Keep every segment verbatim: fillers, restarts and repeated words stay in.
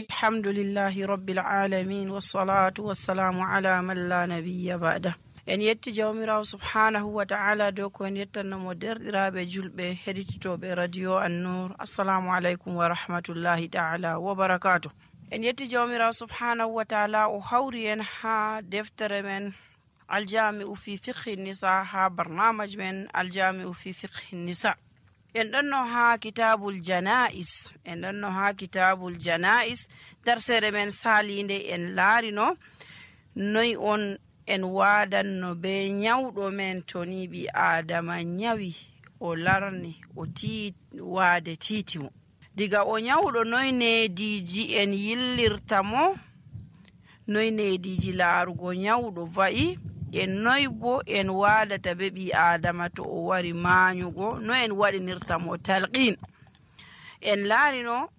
alhamdulillahi rabbil alamin wassalatu wassalamu ala man la nabiyya ba'da. En yetti jawmirawo subhanahu wa ta'ala dow ko en yettannomo derɗiraɓe julɓe heɗitoɓe radio An-Nur. Assalamu aleykum wa rahmatullahi ta'ala wa barakatuh. En yetti jawmirawo subhanahu wa ta'ala o hawri en ha deftere men aljami'u fi fiqhi nisa, ha barnamaj men aljami'u fi fiqhi nisa. En ɗonno ha kitabul jana'is en ɗonno ha kitabul jana'is darsere men salinde en laarino noy on en wadanno be nyawɗo men to ni ɓi adama nyawi o larni o tii waade titimo diga o nyawɗo noy nediji en yillirta mo, noy nediji laarugo nyawɗo va'i, en noy bo en wadata be ɓi adama to o wari maanyugo, no en waɗinirta mo talqin. En laarino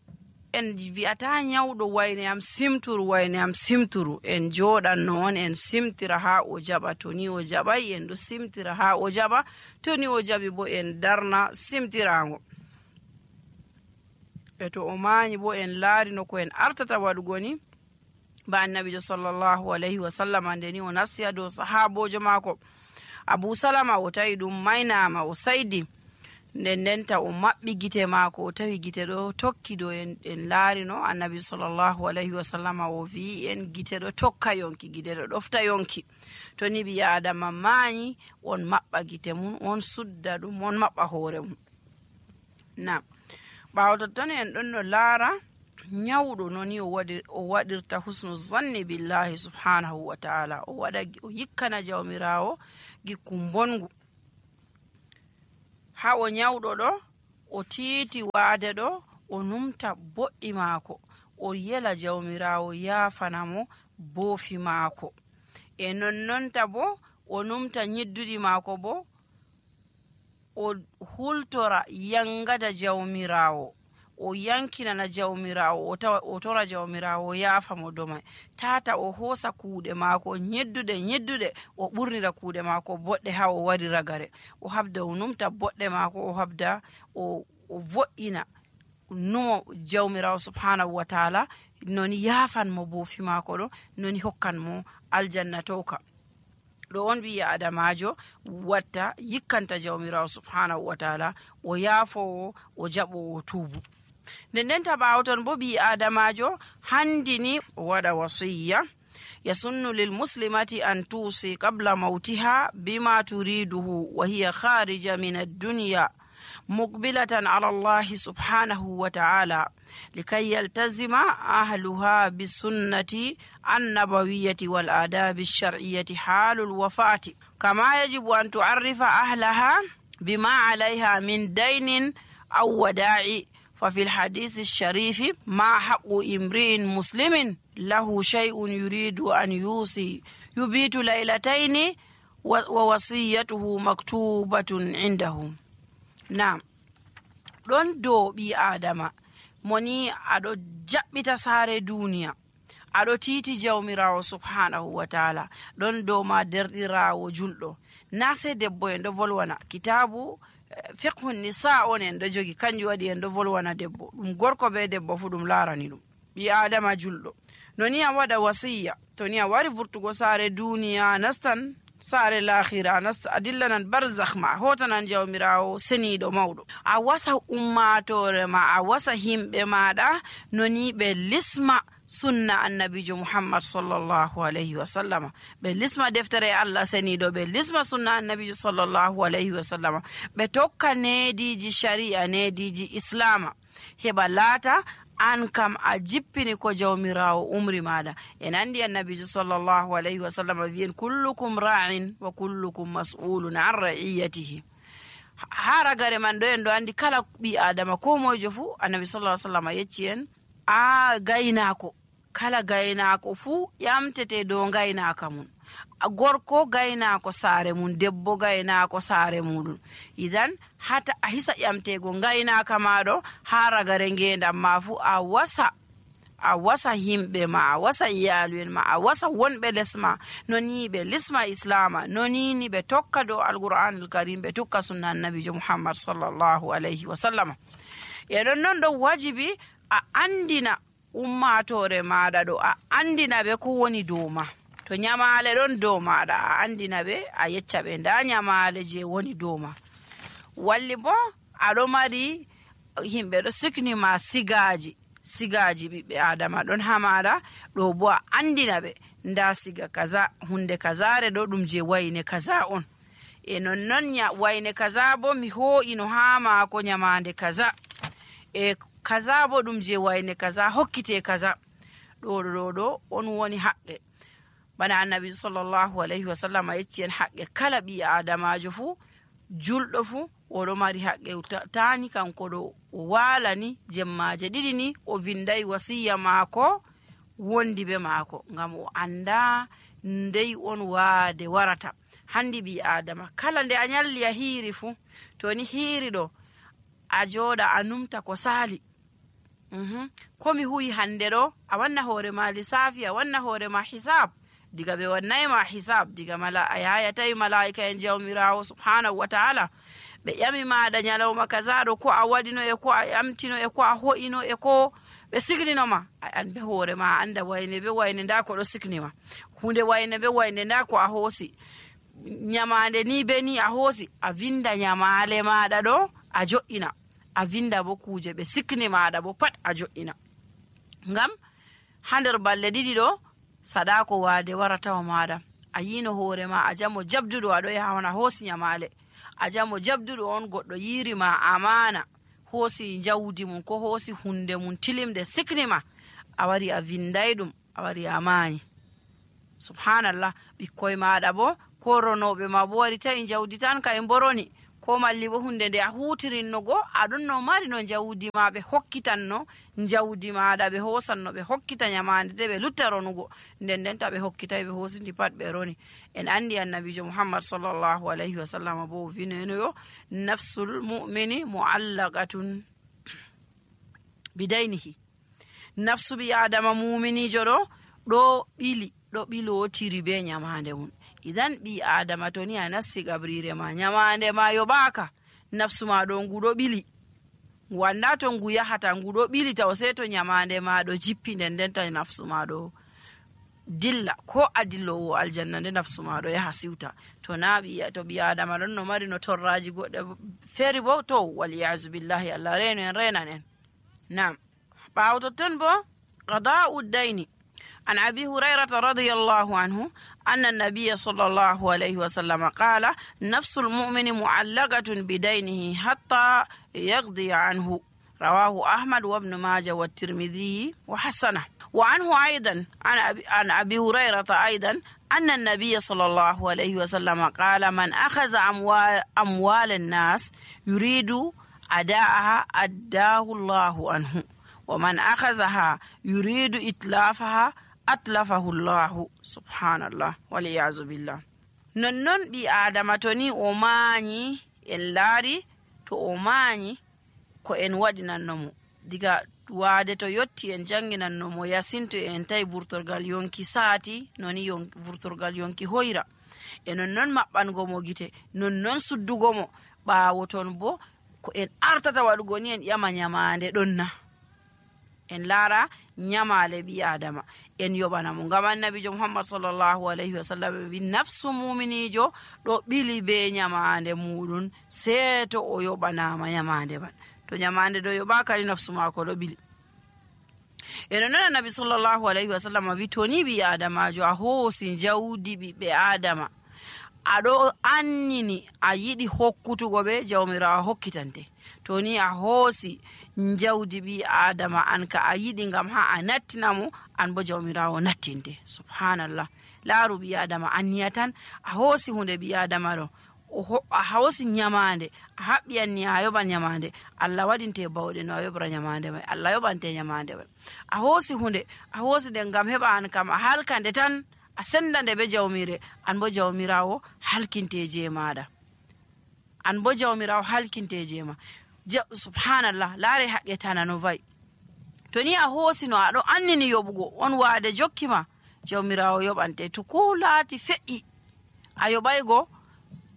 en wi'ata nyawɗo wayne am simturu wayne am simturu, en joɗanno on en simtira ha o jaɓa, to ni o jaɓay en ɗo simtira ha o jaɓa, to ni o jaɓi bo en darna simtirago. e to o maanyi bo en laarino ko en artata waɗugo ni ba annabijo sallallahu alayhi wa sallam ande ni o nasti dow sahabojo maako Abu Salama, o tawi ɗum maynama o saydi, nden ndenta o maɓɓi gite maako, o tawi gite ɗo tokki do en, en laarino annabi sallallahu alayhi wa sallam o wi en gite ɗo tokka yonki, gite ɗo ɗofta yonki. to ni ɓi adama maanyi on maɓɓa gite mum, on sudda ɗum, on maɓɓa hoore mum. na ɓaawo totton en ɗon no laara nyawɗo noni o waɗi o waɗirta husnu zanni billahi subhanahu wa ta'ala, o waɗa o yikkana jawmirawo gikku bongu. ha o nyawɗo ɗo o tiiti waade ɗo o numta boɗɗi maako, o yela jawmirawo yaafanamo boofi maako, e nonnonta bo o numta nyidduɗi maako bo o hultora yangada jawmirawo, o yankinana jawmirawo, o tawa o tora jawmirawo yaafa mo domai, tata o hoosa kuuɗe maako nyedduɗe nyedduɗe o ɓurnira kuuɗe maako boɗɗe ha o wari ragare, o habda o numta boɗɗe maako, o habda o, o vo'ina numo jawmirawo subhanahu wa ta'ala noni yaafan mo boofi maako ɗo, noni hokkan mo aljanna towka. ɗo on ɓi adamajo watta yikkanta jawmirawo subhanahu wa ta'ala, o yaafowo, o jaɓowo tuubu. nden ndenta ɓaawo ton bo ɓi adamajo handini o waɗa wasiyya yasunnu lil muslimati an tusi qabla mautiha bima turiduhu wa hiya kharija min ad-dunya muqbilatan ala Allah subhanahu wa ta'ala likay yaltazima ahluha bisunnati an-nabawiyyati wal adabi ash-shar'iyyati halul wafati kama yajibu an tu'arrifa ahlaha bima 'alayha min daynin aw wada'i. ففي الحديث الشريف ما حق امرئ مسلم له شيء يريد أن يوصي يبيت ليلتين ووصيته مكتوبة عنده. نعم ɗon dow ɓi adama moni aɗo jaɓɓita saare duniya, aɗo titi jawmirawo subhanahu wa ta'ala, ɗon dow ma derɗirawo julɗo, na sai debbo en ɗo volwana kitabu fiqhu nisa on en ɗo jogi, kanjum waɗi en ɗo volwana debbo, ɗum gorko be debbo fu ɗum laarani ɗum ɓi adama julɗo. no ni a waɗa wasiyya, to ni a wari vurtugo saare duniya, nastan saare lahira, nasta a dillanan barzakh ma, hotanan jawmirawo seniɗo mawɗo, a wasa ummatore ma, a wasa himɓe maɗa no ni ɓe lisma sunna annabijo muhammad sallallahu alayhi wa sallama, ɓe lisma deftere allah seniɗo, ɓe lisma sunna annabijo sallallahu alayhi wa sallama, ɓe tokka nediji sharia, nediji islama, heɓa laata an kam a jippini ko jawmirawo umri maɗa. en andi annabijo sallallahu alayhi wa sallama wiyen kullukum ra'in wa kullukum mas'ulun an ra'iyatihi. ha ragare man ɗo en ɗo andi kala ɓi adama ko moyjo fu annabi sallallahu alayhi wa sallama yecci en a gaynako, kala gaynako fuu ƴamtete dow gaynaka mum, gorko gaynako saare mum, debbo gaynako saare muɗum. idan hata a hisa ƴamtego gaynaka maɗo ha ragare ngendam ma fuu, a wasa a wasa himɓe ma, a wasa iyalu en ma, a wasa wonɓe lesma, noni ɓe lisma islama, nonini ɓe tokka dow alqur'anul karim, ɓe tukka sunna annabijo muhammad sallallahu alayhi wa sallam. e ɗon non ɗo wajibi a andina ummatore maɗa ɗo a andina ɓe ko woni dow ma. To nyamale ɗon dow maɗa a andina ɓe, a yecca ɓe nda nyamale je woni dow ma. Walli bo aɗo mari himɓe ɗo siknima sigaji sigaji ɓiɓɓe adama ɗon ha maɗa ɗo, bo a andina ɓe nda siga kaza, hunde kazare ɗo ɗum je wayne kaza on, e nonnon wayne kaza bo mi ho'ino ha mako nyamande kaza, e kaza bo ɗum je wayne kaza hokkite kaza. ɗo ɗo ɗo on woni haqqe. bana annabi sallallahu alaihi wasallam yecci en haqqe kala ɓi adamajo fu, julɗo fu oɗo mari haqqe. tani kanko ɗo o walani jemmaje ɗiɗi ni o vindai wasiya mako wondi be mako, ngam o anda ndei on waade warata. handi ɓi adama kala nde a nyalli a hiiri fu, to ni hiiri ɗo a joɗa a numta ko sali. Mm-hmm. komi huyi hande ɗo a wanna hoore ma lissafi, a wanna hoore ma hisab. diga ɓe wannai ma hisab, diga mala a yayatai malaika en jawmirawo subhanahu wa ta'ala ɓe ƴami maɗa nyalawma kaza ɗo ko a waɗino e ko a ƴamtino e ko a ho'ino e ko ɓe signinoma, an be hoore ma anda wayne be wayne nda ko ɗo signima, hunde wayne be wayne nda ko a hoosi, nyamande ni be ni a hoosi. a vinda nyamale maɗa ɗo a jo'ina, a vinda bo kuje ɓe sikni maɗa bo pat a jo'ina. ngam ha nder balle ɗiɗi ɗo sadako waade waratawa maɗa. a yino hoore ma a jamo jabduɗo aɗo yaha on a hoosi nyamale, a jamo jabduɗo on goɗɗo yirima amana, hoosi jawdi mum ko hoosi hunde mum tilimde siknima, a wari a vinday ɗum, a wari a maayi. subhanallah. ɓikkoye maɗa bo ko ronoɓe ma bo wari tawi jawdi tan ka e boroni, ko malli bo hunde nde a hutirinno go aɗon no mari no jawdi ma ɓe hokkitanno jawdi maɗa, ɓe hosanno ɓe hokkita nyamande de ɓe lutta ronugo, nden nden ta ɓe hokkitay ɓe hosindi pat ɓe roni. en andi annabijo muhammad sallallahu alaihi wasallam bo vinenoyo nafsul mu'mini mu'allaqatun bidaynihi, nafsu ɓi adama muminijo ɗo ɗo ɓili ɗo ɓilotiri be nyamande mum. idan ɓi adama to ni a nassi gabrire ma nyamande ma yoɓaka, nafsu ma ɗo nguɗo ɓili, wanda to ngu yahata nguɗo ɓili taw sei to nyamande ma ɗo jippi, nden nden ta nafsu ma ɗo dilla, ko a dillowo aljanna nde nafsu ma ɗo yaha siwta. to na ɓi to ɓi adama ɗon no mari no torraji goɗɗe feri bo to waliyazu billahi, allah reno en renan en. nam ɓawo totton bo qada'u dayni. عن أبي هريرة رضي الله عنه أن النبي صلى الله عليه وسلم قال نفس المؤمن معلقة بدينه حتى يقضي عنه. رواه أحمد وابن ماجه والترمذي وحسنه. وعنه أيضا عن أبي هريرة أيضا أن النبي صلى الله عليه وسلم قال من أخذ أموال, أموال الناس يريد أداءها أداه الله عنه، ومن أخذها يريد إتلافها atlafahu llahu. subhanallah waliyazu billah. nonnon ɓi adama to ni o mañi en laari, to o mañi ko en waɗinannomo diga waade to yotti en janginannomo yasinto en tawi burtorgal yonki saati noni yon, burtorgal yonki hoyra, e nonnon maɓɓangomo gite, nonnon suddugomo. ɓaawo ton bo ko en artata waɗugo ni en ƴama nyamande ɗonna, en laara nyamale ɓi adama en yoɓanamo. ngam annabijo muhammad sallallahu alaihi wasallam wi nafsu muminijo ɗo ɓili be nyamande muɗum seeto o yoɓanama nyamande man. to nyamande ɗo yoɓaka ni nafsu mako ɗo ɓili. eno non annabi sallallahu alaihi wasallam wi to ni ɓi adamajo a hoosi jawdi ɓiɓɓe adama, aɗo annini a yiɗi hokkutugo ɓe, jawmirawo hokkitante. to ni a hoosi jawdi ɓi adama an ka a yiɗi ngam ha a nattinamo, an bo jawmirawo nattinte. subhanallah. laaru ɓi adama anniya tan a hoosi hunde ɓi adama ɗo, a hoosi nyamande a haɓɓi anni a yoɓan nyamande, allah waɗinte bawɗe no a yoɓra nyamande mai, allah yoɓante nyamande mai. a hoosi hunde a hoosi nde ngam heɓa an kam a halkande tan a sendande be jawmire, an bo jawmirawo halkinte je maɗa, an bo jawmirawo halkinte je ma. subhanallah. laare haqqe tana no vayi. to ni a hoosi no aɗo annini yoɓugo on waade jokkima, jawmirawo yoɓante. to ko laati fe'i a yoɓaygo,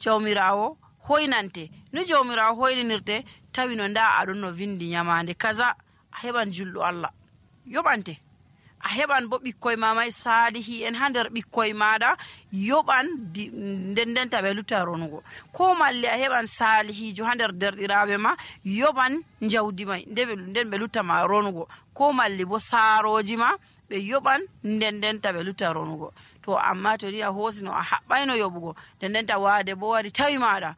jawmirawo hoynante. no jawmirawo hoyninirte tawi no nda aɗon no vindi nyamande kaza, a heɓan julɗo allah, yoɓante. A heɓan bo ɓikkoye ma may salihi en ha nder ɓikkoye maɗa yoɓan nden ndenta ɓe lutta ronugo, ko malli a heɓan salihijo ha nder derɗiraɓe ma yoɓan jawdi may nden ɓe lutta ma ronugo, ko malli bo saroji ma ɓe yoɓan nden ndenta ɓe lutta ronugo. To amma to ri a hosino a haɓɓayno yoɓugo nden ndenta wade bo wari tawi maɗa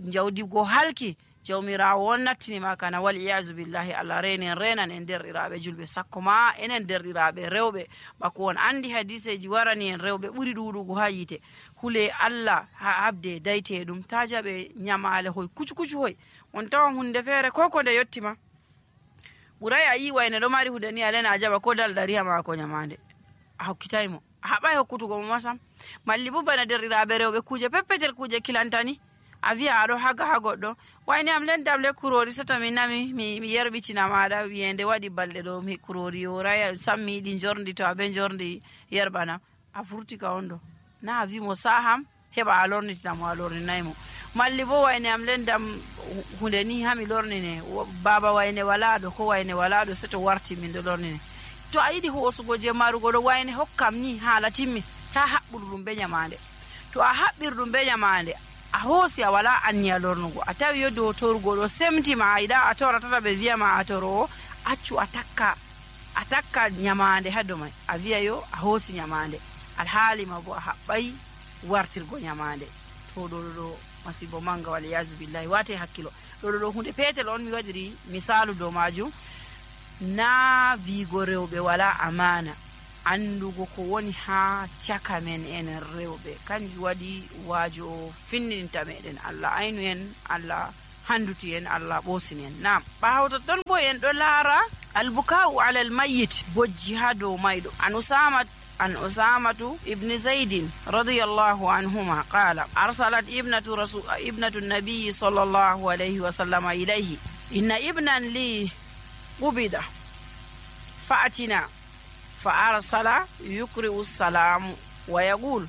jawdi go halki, jawmirawo on nattini ma kana wal iyazu billahi, Allah reni en renan en derɗiraɓe julɓe, sakko ma enen derɗiraɓe rewɓe, bako on andi hadiseji warani en rewɓe ɓuri ɗuɗugo ha yite. hule Allah ha habde dayte ɗum ta jaɓe nyamale hoy kucu kucu hoy, on tawan hunde feere ko ko nde yettima ɓuray a yi wayne ɗo mari hunde ni alena a jaɓa ko dal ɗariha mako nyamande a hokkitaymo, a haɓay hokkutugo mo masam. malli bo bana derɗiraɓe rewɓe kuje peppetel kuje kilantani a wiya aɗo haga ha goɗɗo, wayne am lendam le kurori soto mi nami mi, mi yerɓitina maɗa wiyende waɗi balɗe ɗo mi kurori yoray sam mi yiɗi jordi, to aɓe jordi yerɓanam, a furti ka on ɗo na a wimo saham heɓa a lornitinamo a lorninaymo. malli bo wayne am lendam hunde ni hami lornine, baba wayne walaɗo ko wayne walaɗo seto warti min ɗo lornine. to a yiɗi hosugo je marugo ɗo wayne hokkam ni hala timmi, ta haɓɓuru ɗum be nyamande. to a haɓɓir ɗum be nyamande a hoosi a wala anniya lornugo, a tawi yo dow torugo ɗo semtima a yiɗa a tora tata ɓe wiyama a torowo, accu a takka a takka nyamande ha dow may, a wiya yo a hoosi nyamande alhaalima bo a haɓɓay wartirgo nyamande. to ɗo ɗo masibo manga wal yazu billahi, wate hakkilo. ɗo ɗo hunde petel on mi waɗiri misalu dow majum, na wigo rewɓe wala amana, andugo ko woni ha caka men enen rewɓe kanjum waɗi waajo finninta meɗen. Allah aynu en, Allah handuti en, Allah ɓosini en. nam ɓawto ton bo en ɗo laara albukau ala almayyit, bojji ha dow mayɗo. an usama an usamatu ibni zaidin radiyallahu anhuma qala arsalat ibnatu rasul ibnatu nabiyi sallallahu alayhi wa sallama ilayhi inna ibnan li qubida fa'atina فأرسل يقرئ السلام ويقول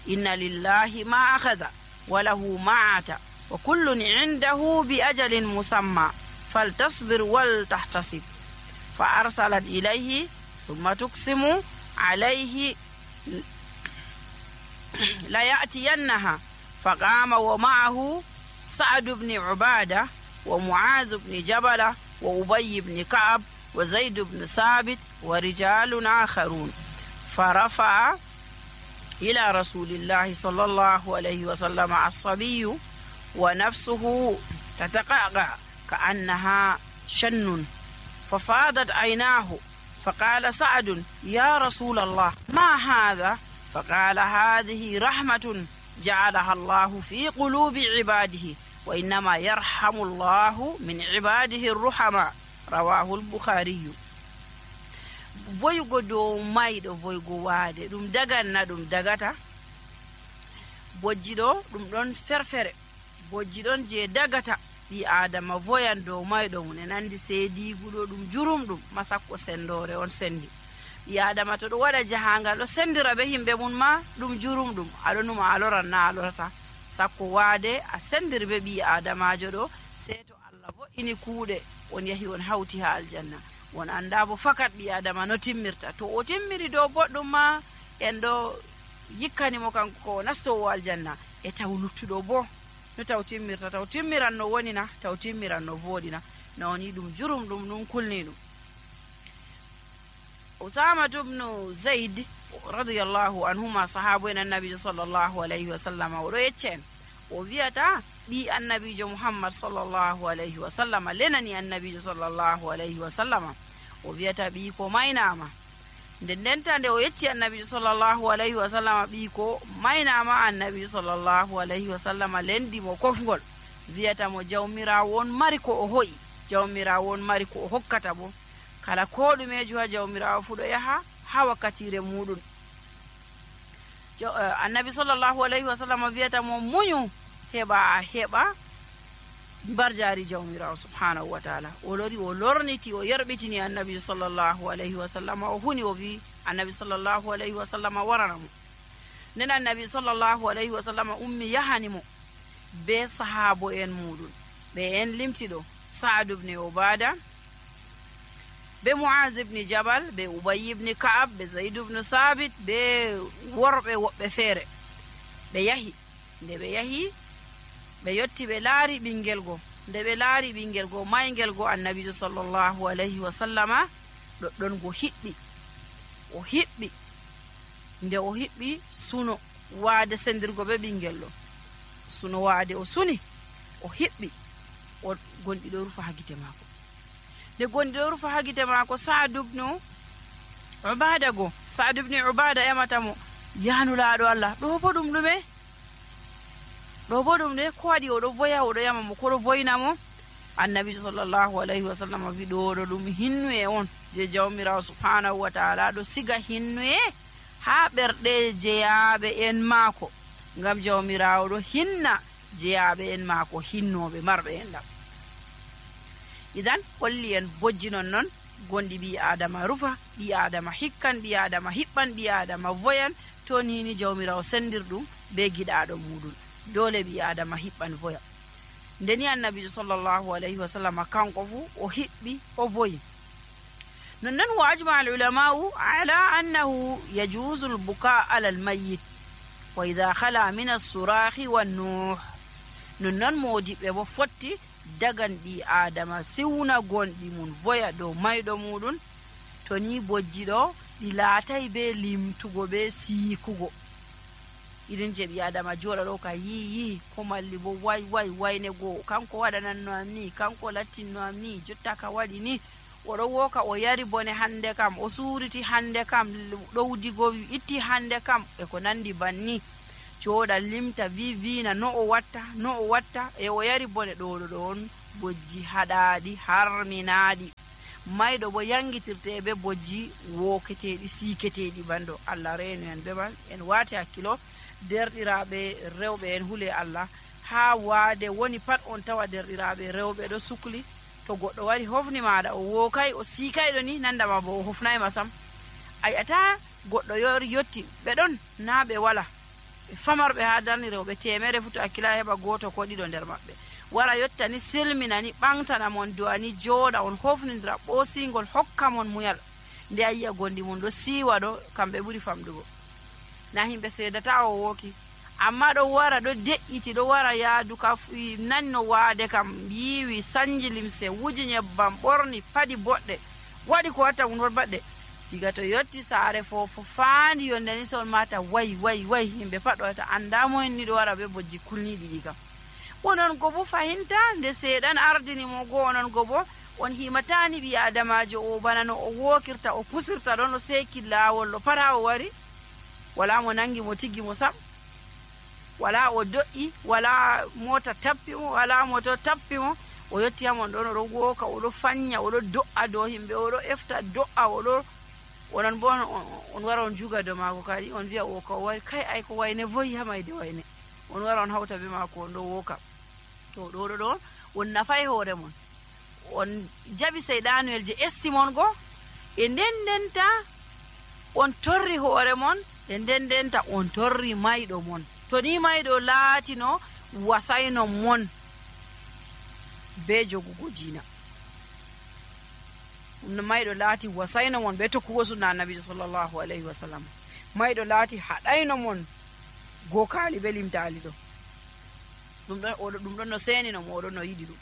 إن لله ما أخذ وله ما عطى وكل عنده بأجل مسمى فلتصبر ولتحتسب. فأرسلت إليه ثم تقسم عليه ليأتينها، فقام ومعه سعد بن عبادة ومعاذ بن جبل وأبي بن كعب وزيد بن ثابت ورجال آخرون، فرفع إلى رسول الله صلى الله عليه وسلم الصبي ونفسه تتقعقع كأنها شن، ففاضت عيناه، فقال سعد يا رسول الله ما هذا؟ فقال هذه رحمة جعلها الله في قلوب عباده، وإنما يرحم الله من عباده الرحماء. rawahu al-bukhari. voygo dow mayɗo voygo waade ɗum daganna ɗum dagata, bojji ɗo ɗum ɗon ferfere, bojji ɗon je dagata ɓi adama voyan dow mayɗo mum, en andi seediguɗo ɗum jurum ɗum masakko sendore on sendi. ɓi adama to ɗo waɗa jahangal ɗo sendira be himɓe mum ma ɗum jurum ɗum, aɗo numa a loran na a lorata, sakko waade a sendiri be ɓi adamajo ɗo, sei to Allah vo'ini kuuɗe on yahi on hawti ha aljanna, won anda bo fakat ɓi adama no timmirta. to o timmiri dow boɗɗum ma en ɗo yikkanimo kanko ko nastowo aljanna, e taw luttuɗo bo no taw timmirta, taw timmiran no wonina, taw timmiran no voɗina, nawni ɗum jurum ɗum ɗum kulni ɗum. usamatu bnu zaid radiyallahu anhuma, sahabu en annabijo sallllahu alayhi wa sallam, oɗo yecca en o wiyata ɓi annabijo muhammad sallllahu alayhi wa sallam lenani annabijo sallllahu alayhi wa sallam, o wiyata ɓi ko maynama. nden ndenta nde o yecci annabijo sallllahu alayhi wa sallam ɓi ko maynama, annabijo sallllahu alayhi wa sallam lendimo kofgol, wiyata mo jawmirawo on mari ko o hoyi, jawmirawo on mari ko o hokkata bo, kala ko ɗumejo ha jawmirawo fu ɗo yaha ha wakkatire muɗum. annabi sallllahu alayhi wa sallam wiyata mo muñu heɓa heɓa barjari jawmirawo subhanahu wa taala. o lori o lorniti o yerɓitini annabi sallllahu alayhi wa sallam, o huni o wi annabi sallllahu alayhi wa sallam warana mo. nden annabi sallllahu alayhi wa sallam ummi yahani mo be sahabo en muɗum, ɓe en limtiɗo Sa'd ibn Ubada, be Muaz ibn Jabal, be Ubay ibn Ka'ab, be Zaid ibn Sabit, be worɓe woɓɓe feere. Ɓe yahi nde ɓe yahi ɓe yotti ɓe laari ɓingel go. Nde ɓe laari ɓingel go maygel go, annabijo sallallahu alayhi wa sallama ɗoɗɗon go hiɓɓi o hiɓɓi nde o hiɓɓi suno waade sendirgo be ɓingel ɗo. Suno waade o suni o hiɓɓi o gonɗi ɗo rufa ha gite maako. Nde gonɗi ɗo rufa ha gite maako, Sa'd ibn Ubada go Sa'd ibn Ubada emata mo, yahnu laaɗo Allah, ɗo bo ɗum ɗume ɗo bo ɗum ɗe ko waɗi oɗo voya oɗo yama mo koɗo voyna mo? Annabi sallallahu alayhi wa sallam wi ɗo ɗo ɗum hinnuye on je jawmirawo subhanahu wa ta'ala ɗo siga hinnuye ha ɓerɗe jeyaɓe en maako, ngam jawmirawo ɗo hinna jeyaɓe en maako, hinnoɓe marɓe en ɗam. Idan holli en bojji non non gonɗi ɓi adama rufa, ɓi adama hikkan, ɓi adama hiɓɓan, ɓi adama voyan, to nini jawmirawo sendir ɗum be giɗaɗo muɗum, dole ɓi adama hiɓɓan voya. Ndeni annabijo sallallahu alayhi wa sallam kanko fu o hiɓɓi o voyi. nonnon wa ajma al ulama'u ala annahu yajuzu al buka ala al mayyit wa idha khala min as-surahi wan nuh. nonnon modiɓe bo fotti dagan ɓi adama siwna gonɗi mun voya dow mayɗo muɗum to ni bojji ɗo ɗi laatay be limtugo be siikugo. irin je ɓi adama joɗa ɗo ka yiyi ko malli bo way way wayne goo, kanko waɗananno am ni, kanko lattinno am ni, jotta ka waɗi ni, oɗo woka o yari bone hande kam, o suuriti hande kam, ɗowdigo itti hande kam, e ko nandi banni. joɗa limta vi vina no o watta no o watta e o yari bone ɗoɗo ɗo on bojji haɗaɗi harminaɗi. mayɗo bo yangitirte be bojji woketeɗi siketeɗi bando. Allah reenu en bemal en wati hakkilo derɗiraɓe rewɓe en hule Allah ha waade woni pat on tawa derɗiraɓe rewɓe ɗo sukli. to goɗɗo wari hofni maɗa o wokay o sikayɗo ni nandama bo o hofnayma sam. ayata goɗɗo yori yotti ɓe ɗon na ɓe wala ɓe famarɓe ha darni rewɓe temere futo hakkila heɓa goto ko ɗiɗo nder maɓɓe wara yottani silminani ɓantana mon duwani jooɗa on hofnidira ɓosingol hokka mon muyal. nde a yiya gondi mum ɗo siwa ɗo kamɓe ɓuri famdugo, na himɓe seedata o woki, amma ɗo wara ɗo de'iti ɗo wara yaadu ka nanno waade kam yiwi sanji limse wuji nyebbam ɓorni padi boɗɗe waɗi ko watta mum baɗɗe. diga to yotti saare fofo faandi yonde ni sol mata way way way himɓe pat ɗo wata andamo en ni ɗo wara be bojji kulniɗi ɗi kam. onon go bo fahinta nde seeɗan ardini mo go onon go bo on himatani ɓi adamajo o bana no o wokirta o pusirta ɗon o seki laawol ɗo pat ha o wari wala mo nangi mo tiggi mo sam, wala o do'i, wala mota tappi mo, wala moto tappi mo, o yotti hamon ɗon oɗo woka oɗo fanya oɗo do'a dow himɓe oɗo efta do'a oɗo onon bo on wara on juga dow maako kadi on wiya o ka o wari kay ay ko wayne voyi ha mayde wayne, on wara on hawta be maako on ɗo woka. to ɗoɗo ɗon on nafay hoore mon, on jaɓi seyɗanuel je esti mon go, e nden ndenta on torri hoore mon, e nden ndenta on torri mayɗo mon. to ni mayɗo laatino wasayno mon be jogugo diina, mayɗo laati wasayno mon be tokkugo sunna annabijo sallallahu alayhi wa sallam, mayɗo laati haɗayno mon gokali be limtali ɗo, ɗum ɗon oɗo ɗum ɗon no senino mo oɗon no yiɗi ɗum.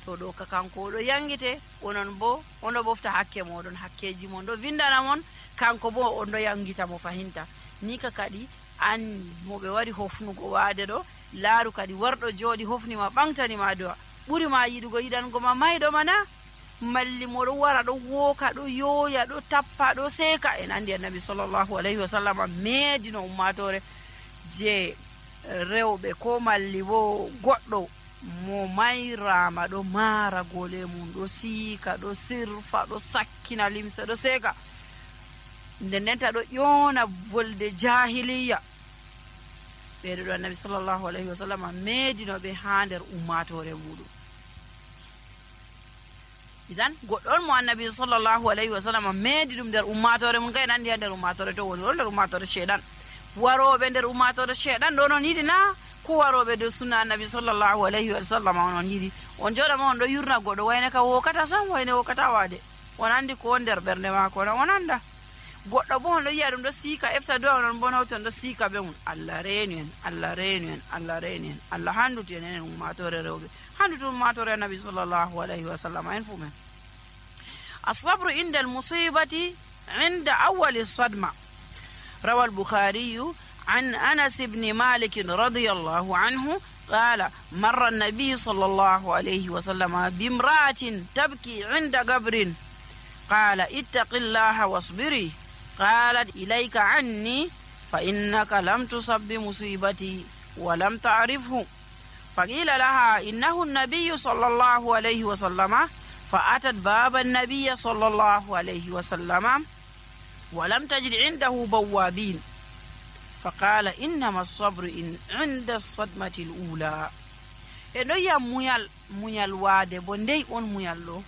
to ɗo ka kanko oɗo yangite, onon bo oɗo ɓofta hakke moɗon, hakkeji mon ɗo vindana mon, kanko bo on ɗo yangita mo fahinta. ni ka kadi an mo ɓe wari hofnugo waade ɗo laaru kadi warɗo jooɗi hofnima ɓamtanima do'a ɓuri ma yiɗugo yiɗango ma mayɗo mana, malli moɗo wara ɗo wooka ɗo yooya ɗo tappa ɗo seeka. en andi annabi sallllahu alayhi wa sallam meedino ummatore je rewɓe ko malli bo goɗɗo mo mayrama ɗo maara gole mum ɗo siika ɗo sirfa ɗo sakkina limse ɗo seeka, nden ndenta ɗo ƴoona volde jahiliya. ɓeɗo ɗo annabi sallllahu alayhi wa sallam meedinoɓe ha nder ummatore muɗum. idan goɗɗo on mo annabi sallllahu alayhi wa sallam meedi ɗum nder ummatore mum, kay nandi ha nder ummatore to woni ɗo nder ummatore sheeɗan. waroɓe nder ummatore sheeɗan ɗo non yiɗi na ko waroɓe dow sunna annabi sallllahu alayhi wa sallam onon yiɗi? on joɗama on ɗo yurna goɗɗo wayne ka wokata sam, wayne wokata waade, on andi ko nder ɓernde maako na on anda. Goɗɗo bo on ɗo yiya ɗum ɗo siika efta dow onon bo hawti on ɗo siika be mum. Allah reenu en, Allah reenu en, Allah reenu en, Allah handuti en enen ummatore rewɓe, handuti ummatore annabi sallallahu alayhi wa sallam en fu men. الصبر عند المصيبة عند أول الصدمة. روى البخاري عن أنس بن مالك رضي الله عنه قال مر النبي صلى الله عليه وسلم بامرأة تبكي عند قبر قال اتق الله واصبري قالت إليك عني فإنك لم تصب بمصيبتي ولم تعرفه فقيل لها إنه النبي صلى الله عليه وسلم فأتت باب النبي صلى الله عليه وسلم ولم تجد عنده بوابين فقال إنما الصبر إن عند الصدمة الأولى. eno ya muyal muyal waade bo ndey on muyal ɗo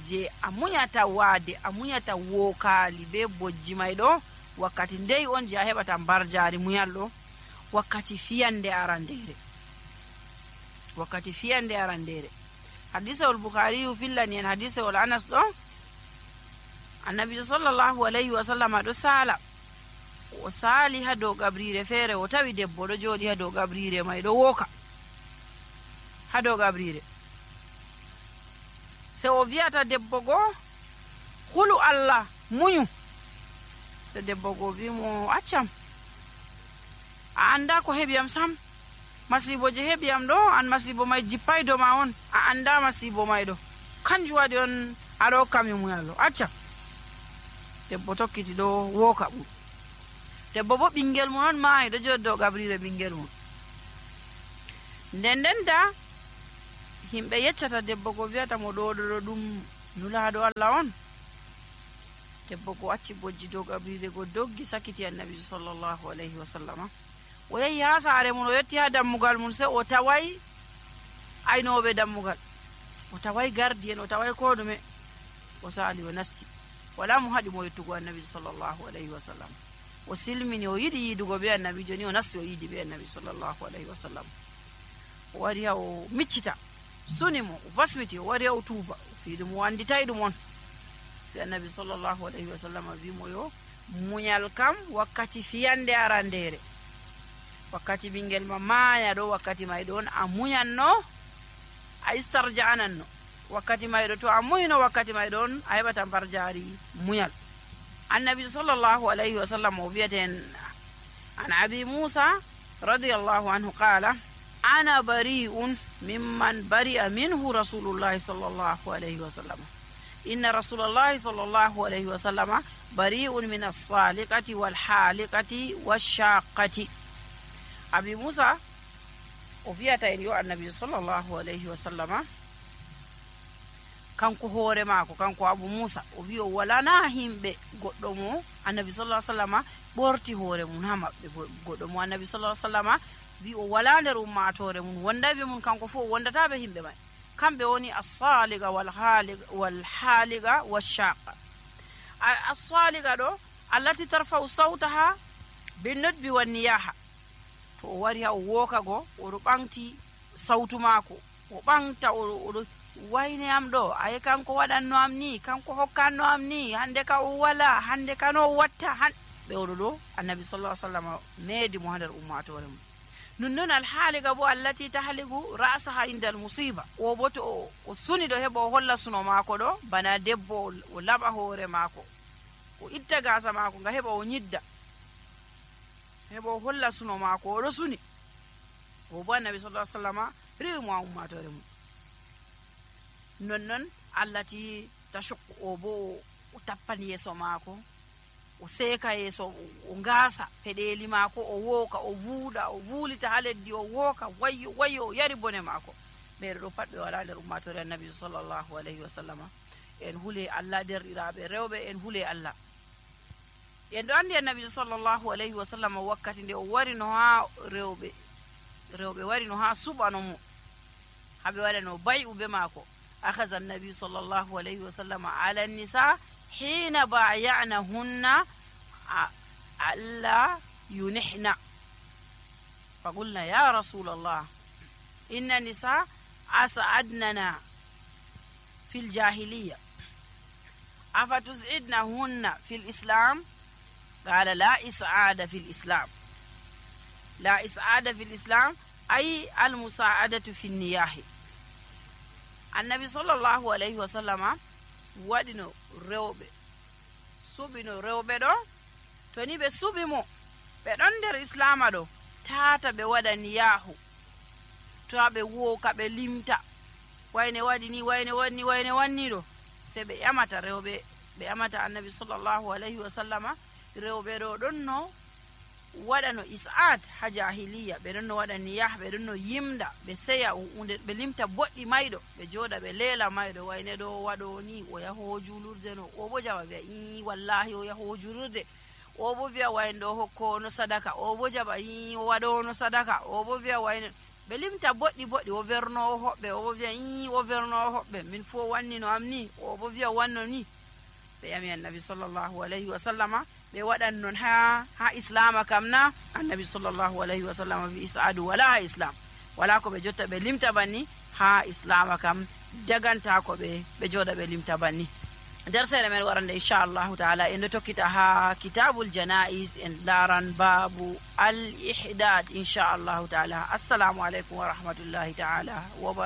je a munyata waade a munyata wokaali be bojji may ɗo wakkati ndey on je a heɓata mbarjaari muyal ɗo wakkati fiyande arandere wakkati fiyande arandere. hadise ol bukhari fillani en hadise ol anas ɗo annabi sallallahu alayhi wa sallam ɗo sala o sali ha dow gabrire feere o tawi debbo ɗo jooɗi ha dow gabrire may ɗo woka ha dow gabrire. se o wiyata debbo goo hulu Allah muñu, se debbo goo wimo accam a anda ko heɓiyam sam, masibo je heɓiyam ɗo an masibo may jippay do ma on, a anda masibo may ɗo kanjum waɗi on aɗa hokkami muyal ɗo accam. debbo tokkiti ɗo woka ɓum. debbo bo ɓingel mum on maayi ɗo jooɗi dow gabrire ɓingel mum. nden ndenta himɓe yeccata debbo ko wiyata mo ɗo ɗo ɗum nulaaɗo Allah on. debbo ko acci bojji dow gabrire go doggi sakiti annabi sallallahu alayhi wa sallama o yehi ha saare mum o yetti ha dammugal mum se o taway aynoɓe dammugal, o taway gardi en, o taway ko ɗume, o sali o nasti wala mo haɗi mo yettugo annabi sallallahu alayhi wa sallam. o silmini o yiɗi yiidugo be annabi, joni o nasti o yiidi be annabi sallallahu alayhi wa sallam. o wari ha o miccita suni mo o basmiti, o wari ha o tuuba o fiiɗum o anditay ɗum on. si annabi sallallahu alayhi wa sallam wimo yo muñal kam wakkati fiyande arandere, wakkati ɓingel ma maaya ɗo wakkati may ɗon a muñanno a istarja'ananno, wakkati may ɗo to a muyno wakkati may ɗon a heɓata mbarjaari muñal. annabi sallallahu alayhi wa sallam o wiyaten an abi musa radiyallahu anhu qala ana bari'un mimman bari'a minhu rasulullahi sallallahu alayhi wa sallam inna rasulullahi sallallahu alayhi wa sallam bari'un min as-saliqati wal haliqati wash-shaqqati. abi musa o wiyata en yo annabi sallallahu alayhi wa sallama kanko hoore maako, kanko abu musa o wi o walana himɓe goɗɗo mo annabi sallallahu alayhi wa sallama ɓorti hoore mum ha maɓɓe. goɗɗo mo annabi sallallahu alayhi wa sallama wi o wala nder ummatore mum wondaɓe mum kanko fof o wondataɓe himɓe may, kamɓe woni as-saliga wal haliga wash-shaqa. as-saliga ɗo allati tarfa'u sawtaha bin nutbi wan niyaha. to o wari ha o woka go oɗo ɓamti sawtu maako, o ɓamta oɗo wayne am ɗo, ayi kanko waɗanno am ni, kanko hokkanno am ni, hande ka o wala, hande ka no watta han ɓe oɗo ɗo annabi sallallahu alayhi wa sallam meedi mo ha nder ummatore mum. nonnon alhaaliga bo allati tahligu ra'saha indal musiba, o bo to o suni ɗo heɓa o holla suno maako ɗo bana debbo o laɓa hoore maako o itta gasa maako nga heɓa o ñidda, heɓa o holla suno maako oɗo suni, o bo annabi sallallahu alayhi wa sallam rewi mo ha ummatore mum. nonnon allati tashukku, o bo o tappan yeeso maako, o seeka yeeso, o ngaasa peɗeli maako, o wooka, o vuuɗa, o vuulita ha leddi, o wooka wayyo wayyo, o yari bone maako. ɓeeɗo ɗo pat ɓe wala nder ummatore annabi sallallahu alayhi wa sallama. en hule Allah derɗiraɓe rewɓe, en hule Allah. en ɗo andi annabi sallallahu alayhi wa sallam wakkati nde o wari no ha rewɓe rewɓe wari no ha suɓano mo haɓe waɗano bay'u be maako. أخذ النبي صلى الله عليه وسلم على النساء حين بايعنهن ألا ينحن فقلنا يا رسول الله إن النساء أسعدننا في الجاهلية أفتسعدنهن في الإسلام قال لا إسعاد في الإسلام لا إسعاد في الإسلام أي المساعدة في النياح. النبي صلى الله عليه وسلم wadino rewbe subino rewbe do to ni be subi mo be don der islama do tata be wada niyahu to be wo ka be limta wayne wadi ni wayne wani wayne wanni do se be yamata rewbe be yamata annabi sallallahu alaihi wasallama rewbe do don no wadano is'ad ha jahiliya be don no wada niyah be don no yimda be seya unde be limta boddi maydo be joda be lela maydo wayne do wado ni o yaho julurde no o bo jawa be i wallahi o yaho julurde o bo biya wayne do hokko no sadaka o bo jaba i o wado no sadaka o bo biya wayne be limta boddi boddi o verno hobbe o bo biya i o verno hobbe min fo wanni no amni o bo biya wanno ni be yami annabi sallallahu alaihi wasallama be wadan non ha ha islam kamna annabi sallallahu alaihi wasallam bi isadu wala islam wala ko be jotta be limta banni ha islam kam daganta ko be be joda be limta banni darsere men warande inshallah taala en tokkita ha kitabul janaiz en daran babu al ihdad inshallah taala. Assalamu alaikum wa rahmatullahi taala wa